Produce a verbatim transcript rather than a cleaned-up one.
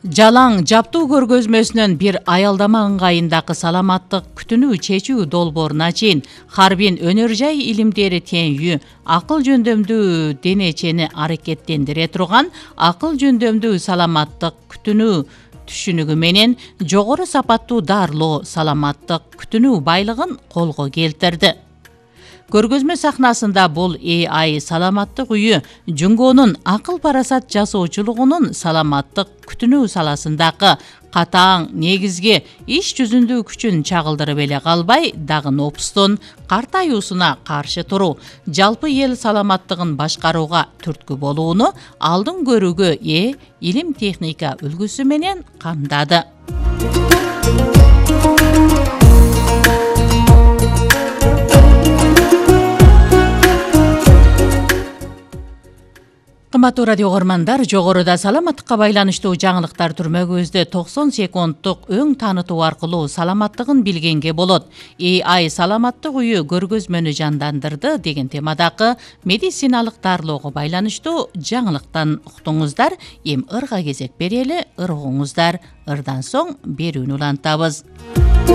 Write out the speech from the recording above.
Жалаң жаптуу көргөзмөсүнөн бир аялдама ыңгайындагы саламаттык күтүүнү чечүү долборуна чейин Харбин өнөр жай илимдери теңүү, акыл жөндөмдүү денечени аракеттендире турган акыл жөндөмдүү саламаттык күтүүнү түшүнүгү менен жогору сапаттуу дарылоо саламаттык күтүүнү байлыгын колго келтирди. Көргөзмө сахнасында бул A I саламаттык үйү Жунгонун акыл парасат жасоочулугунун саламаттык күтүүнү саласындагы катаң негизги иш жүзүндүү күчүн чагылдырып эле калбай, дагы нопустун картаюусуна каршы туруу, жалпы эл саламаттыгын башкарууга түрткү болууну алдын көрүүгө ээ илим техника үлгүсү менен камдады. Кымбаттуу радио угармандар, жогоруда саламаттыкка байланыштуу жаңылыктар түрмөгүбүздө токсон секунддук өң таанытуу аркылуу саламаттыгын билгенге болот. A I саламаттык үйү көргөзмөнү жандандырды деген темадагы медициналык дарылоого байланыштуу жаңылыктан уктуңуздар. Эми ырга кезек берели, ыр угуңуздар. Ырдан соң берүүнү улантабыз.